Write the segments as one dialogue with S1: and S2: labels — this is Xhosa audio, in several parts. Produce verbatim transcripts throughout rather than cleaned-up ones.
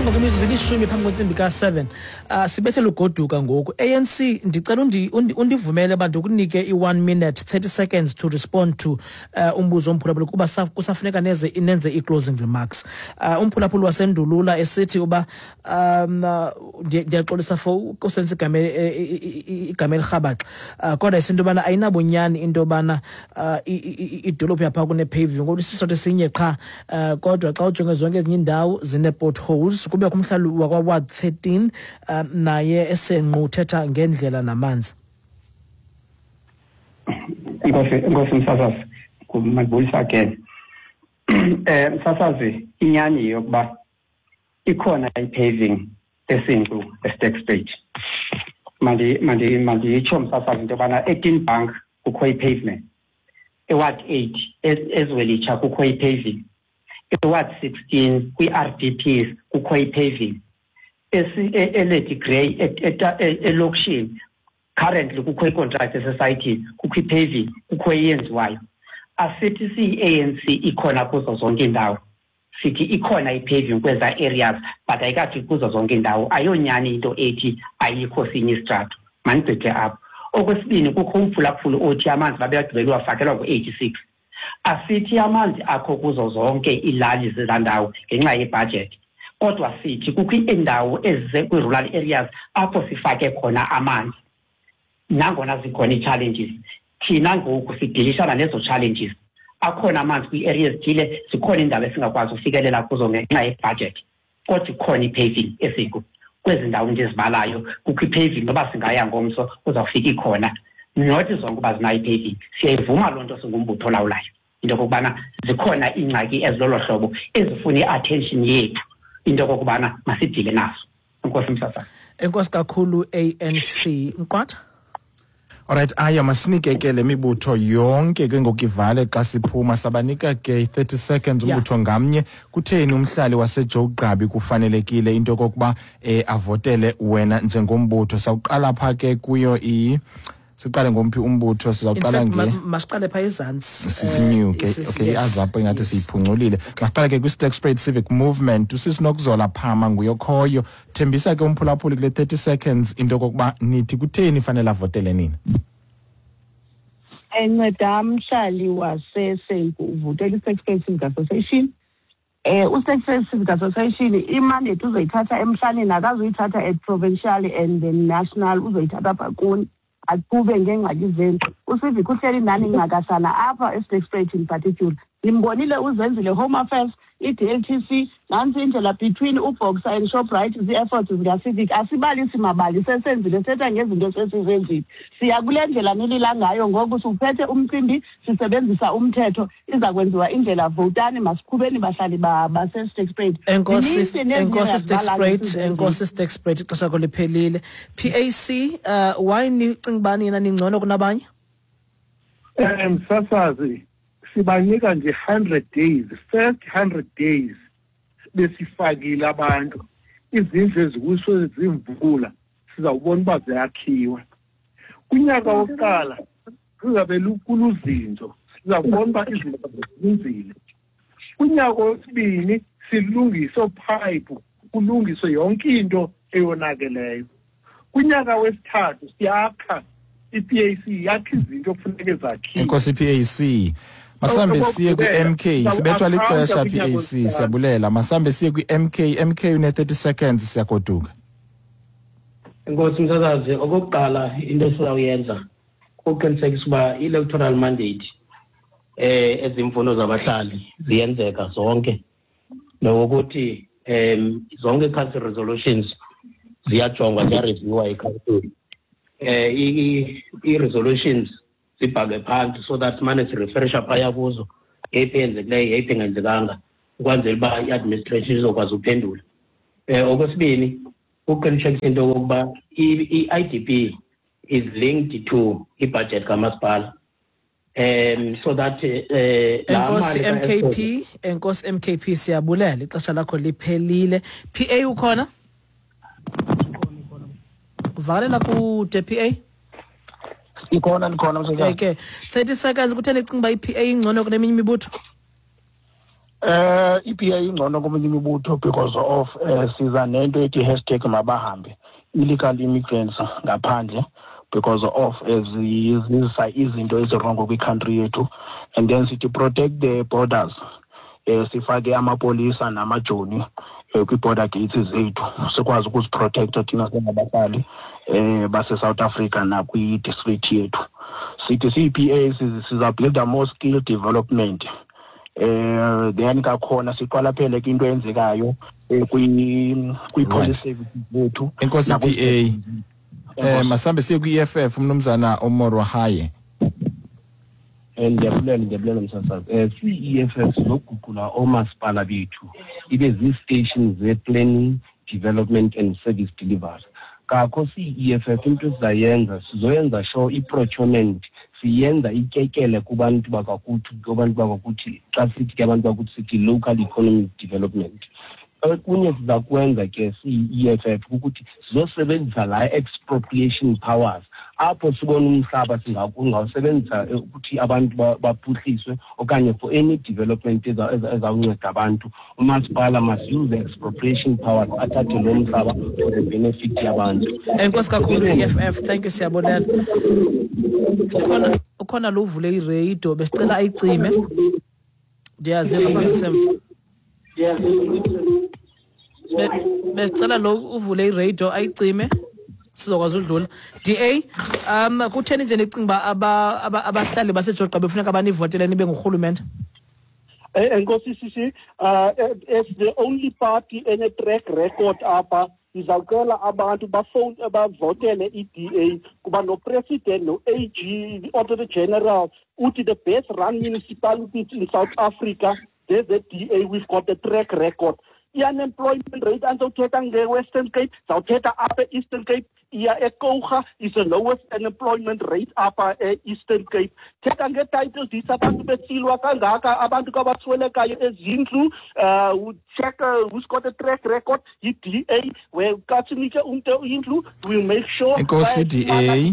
S1: Ngoku imizuzu ilishumi phambi kwentsimbi ka-seven. uh, sibethele ugoduka ngoku. A N C, ndicela undi, undi, undivumele uba ndikunike i-one minute thirty seconds to respond to uh, umbuzo omphulaphuli, kuba kusafuneka neze nenze i-closing remarks. uh, umphulaphuli wasendulula esithi uba um ndiyaxolisa for ukusebenzisa igama igama elirhabaxa, uh, kodwa isinto yobana ayinabunyani into yobana uh, idolophu yapha kune-paving, ngoba isisitho esinye qha, uh, kodwa xa ujonge zonke ezinye iindawo zine-potholes. Kubekho umhlali wakwa-ward thirteen, um naye esenqu uthetha ngendlela namanzi.
S2: Enkosi, enkosi msasazi. Mandibulisa again. eh msasazi inyani yokuba ikhona i-paving eSenqu, eSterkspruit. Mandi mandi manditsho msasazi into yobana eTinbank kukho i-pavement, eWard eight eZwelitsha kukho i-paving, eWard sixteen kwi-R D Ps kukho i-paving, eLady Grey elokishini currently kukho i-contract esesayithini, kukho i-paving, kukho eyenziwayo. Asithi siyi-A N C ikhona kuzo zonke iindawo, sithi ikhona i-paving kweza areas, but ayikafiki kuzo zonke iindawo. Ayonyani into ethi ayikho sinye isitrato. Mandigqithe apho. Okwesibini, kukho umphulaphuli othi amanzi babeyagqibela uwafakelwa ngo-eighty-six. Asithi amanzi akho kuzo zonke iilali zezaa ndawo ngenxa yebhajethi, kodwa sithi kukho iindawo ezikwi-rural areas apho sifake khona amanzi, nangona zikhona ii-challenges. Thina ngoku sidilishana nezo challenges. Akhona amanzi kwii-area ezithile, zikhona iindawo esingakwazi ufikelela kuzo ngenxa yebhajethi, kodwa ikhona i-paving eSenqu kwezi ndawo ndizibalayo. Kukho i-paving, noba singaya ngomso kuzawufika ikhona. Not zonke uba zinayo i-paving, siyayivuma loo nto singumbutho olawulayo, into okokubana zikhona iingxaki ezilolo hlobo ezifuna i-attention yethu, into okokubana masidile nazo. Enkosi msasazi.
S1: Enkosi kakhulu, A N C. Mqwatha.
S3: Alright, aya masinike ke le mibutho yonke ke ngoku ivale xa siphuma. Sabanika ke i-thirty seconds
S1: Yeah.
S3: umbutho ngamnye. Kutheni umhlali waseJoe Gqabi kufanelekile into yokokuba eh, avotele wena njengombutho? Sawuqala pha ke kuyo i siqale ngomphi umbutho?
S1: In
S3: Sizawuqala
S1: fact,
S3: nge
S1: ma- masiqale phaa ezantsi.
S3: Sisinyuke.
S1: Eh, isi-
S3: Okay,
S1: yes.
S3: i-AZAPO ingathi
S1: Yes.
S3: siyiphuculile. Masiqale ke kwi-Sterkspruit Civic Movement. Usisinokuzola Phama nguyokhoyo. Thembisa ke umphulaphuli kule thirty seconds into yokokuba nithi kutheni fanele avotele nini.
S4: Enceda mhlali waseSenqu uvotela i-Sterkspruit Civic Association. Eh uSterkspruit Civic Association i-mandate uzoyithatha emhlaleni, akazuyithatha at provincial and then national, uzoyithatha apha kuni, aqhube ngeengxaki zenu. UCivic uhleli nani ncakasana apha eSterkspruit in particular. Nimbonile uzenzile Home Affairs, i-D L T C, nantsi indlela between uBoxer and Shoprite, zii-efforts zikaCivic. Asibalisi mabali, sesenzile, sithetha ngezinto esesizenzile. Siya kule ndlela nilila ngayo ngoku, siwuphethe umcimbi, sisebenzisa umthetho, iza kwenziwa indlela. Votani, masiqhubeni bahlali ba- baseSterkspruit.
S1: Enkosi.
S4: Zininzi nezinye
S1: Enkosi.
S4: engazibalayo
S1: Sterkspruit.
S4: esizenzile.
S1: Enkosi Sterkspruit, ixesha lakho liphelile. P A C, uh, why nicinga uba nina ningcono kunabanye?
S5: um msasazi sibanika nje hundred days, first hundred days besifakile abantu izindlu eziwiswe zimvula, sizawubona uba ziyakhiwa. Kunyaka wokuqala kuzabe kuluzinzo, sizawubona uba izinto zinzile. Kunyaka wesibini silungise oophayiphu, kulungiswe yonke into eyonakeleyo. Kunyaka wesithathu siyakha, i-P A C yakha izinto okufuneke zakhiwe.
S3: Enkosi P A C. Masambe siye kwi-M K. Sibethwa lixesha, P A C, siyabulela. Masambe siye kwi-M K. M K une thirty seconds, siyagoduka.
S6: Enkosi msasazi. Okokuqala, into esizawuyenza kuqinisekisa uba i-electoral mandate, eh ezimfuno zabahlali ziyenzeka zonke, nokuthi em zonke council resolutions ziyajongwa, ziyareviewa yi-council, eh i-resolutions zibhalwe phansi so that mane sirefresha phaya kuzo, yeyiphi eyenzekileyo, yeyiphi engenzekanga, ukwenzela uba i-administration izokwazi uphendula. eh okwesibini ukuqinisekisa into yokokuba i-I D P is linked to i-budget kamasipala, um so that eh laa
S1: Enkosi.
S6: mali ka-Eskom.
S1: M K P, enkosi M K P, siyabulela, ixesha lakho liphelile. P A ukhona? Uvakalelwa kude, P A.
S7: Ikhona, ndikhona msasazi.
S1: Okay, thirty seconds, kutheni icinga uba i-P A ingcono kuneminye imibutho?
S7: Eh i-P A ingcono komunye imibutho because of eh siza nento ethi hashtag mabahambe illegal immigrants ngaphandle, because of ezizisa izinto ezi-wrong kwi-country yethu. And then sithi protect the borders, eh sifake amapolisa namajoni eh, kwi-border gates zethu, sikwazi ukuziprotecta thina singabahlali eh base-South Africa nakwi-district yethu. Sithi siyi-P A siza-builda more skill development. eh then kakhona siqwalaphele ke into eyenzekayo eh, kwi kwi-police services zethu.
S3: Enkosi,
S7: nakwi-
S3: P A. Eh masambe siye kwi-E F F, umnumzana Omorohaye.
S8: Eh, ndiyabulela ndiyabulela msasazi. um siyi-E F F sizoguqula oomasipala bethu ibe zii-stations ze-planning, development and service delivery. Kakho siyi-E F F into esizayenza, sizoyenza sure i-procurement siyenza ityekele kubantu bakakuthi kubantu bakakuthi Xa sithi ke abantu bakuthi, sithi local economic development. Okunye siza kwenza ke siyi-E F F kukuthi sizosebenzisa laa expropriation powers apho sibona umhlaba singawusebenzisa ukuthi abantu baphuhliswe okanye for any development ezawunceda abantu. Umasipala must use the expropriation powers, athathe lo mhlaba for the benefit yabantu.
S1: Enkosi kakhulu, E F F. Thank you, siyabulela. Ukhona ukhona lo uvule iradio, besicela ayicime. Ndiyaziva apha ngasemva. Besicela lo uvule iradio ayicime, sizokwazi udlula. D A, um kutheni nje nicinga uba abahlali baseJoe Gqabi befuneka banivotele nibe ngurhulumente?
S9: Enkosi sisi. uh as the only party ene track record apha, sizawucela abantu bafowune bavotele i-D A, kuba no-president, no-A G, the-Auditor General uthi the best run municipalities in South Africa zeze-D A. We've got the track record. I-unemployment rate, andizawuthetha nge-Western Cape, zawuthetha apha e-Eastern Cape, iya eKouga is the lowest unemployment rate apha e-Eastern Cape. Thetha ngee-title deeds, abantu besilwa kangaka, abantu kabaswelekayo ezindlu. uh check uh, who's got a track record, yi-D A, where ka sinike umntu indlu, we'll make sure.
S3: Enkosi, D A.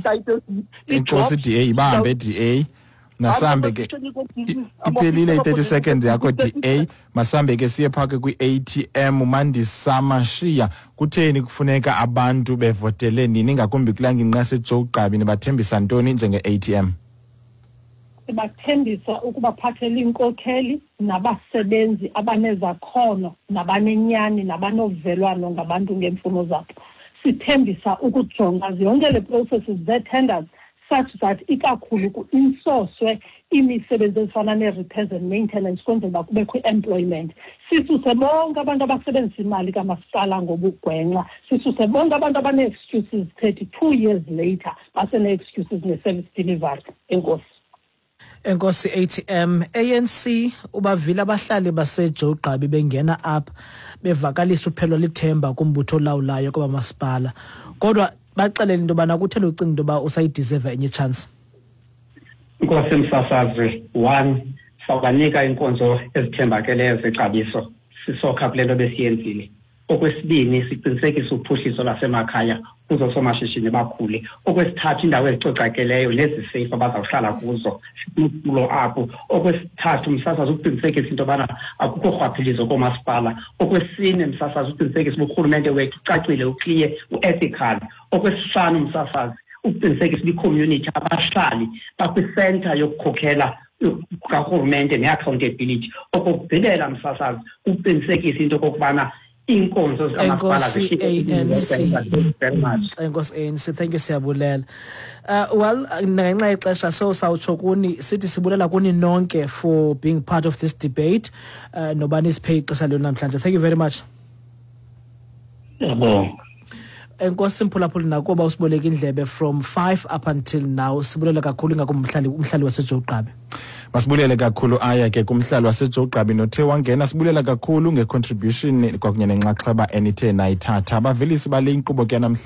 S3: Enkosi, D A. Ibambe, D A. Nasambe ke, iphelile i-thirty seconds yakho, D A. Masambe ke siye phake kwi-A T M. Mandisa Mashiya, kutheni kufuneka abantu bevotele nini, ngakumbi kulaa ngingqi yaseJoe Gqabi? Nibathembisa ntoni njenge-A T M?
S10: Sibathembisa ukubaphathela iinkokheli nabasebenzi abanezakhono nabanenyani nabanovelwano ngabantu ngeemfuno zabo. Sithembisa ukujonga yonke le processes zee-tenders such that ikakhulu ku-insourcwe imisebenzi ezifana nee-repairs and maintenance, kwenzela uba kubekho i-employment. Sisuse bonke abantu abasebenzisa imali kamasipala ngobugwenxa, sisuse bonke abantu abanee-excuses thirty-two years later basene-excuses ne-service delivery. Enkosi.
S1: Enkosi, A T M. A N C, ubavile abahlali baseJoe Gqabi bengena apha bevakalisa uphelwa lithemba kumbutho olawulayo kwabamasipala, kodwa baxelele into yobana kutheni ucinga into yoba usayideserva enye chance.
S2: Nkosi msasazi, one, sawubanika iinkonzo ezithembakeleyo zexabiso, sisokha kule nto besiyenzile. Okwesibini, siqinisekise uphuhliso lwasemakhaya kuzo soomashishini bakhule. Okwesithathu, iindawo ezicocakeleyo neziseyifu abazawuhlala kuzo, sinulo apho. Okwesithathu, msasazi, ukuqinisekisa into yobana akukho rhwaphilizo koomasipala. Okwesine, msasazi, ukuqinisekisa uba urhulumente wethu ucacile, u-clear, u-ethical. Okwesihlanu, msasazi, ukuqinisekisa uba i-community, abahlali bakwisenta yokukhokhela karhulumente ne-accountability. Okokugqibela, msasazi, ukuqinisekisa into okokubana iinkonzo zikamasipala.
S1: Enkosi, A N C.
S2: Very much.
S1: Enkosi, A N C. Thank you, siyabulela. uh, well ngenxa yexesha so sawutsho kuni sithi sibulela kuni nonke for being part of this debate, uh, noba nisiphe ixesha lenu namhlanje. Thank you very much.
S6: Yabonga.
S1: Enkosi, mphulaphuli, nakuba usiboleka indlebe from five up until now. Sibulela kakhulu, ingakumbi umhlali umhlali waseJoe Gqabi.
S3: Masibulele kakhulu aya ke kumhlali waseJoe Gqabi nothe wangena. Sibulela kakhulu ngecontribution kwakunye nenxaxheba enithe nayithatha, abavelisi bale inkqubo ke namhlanje.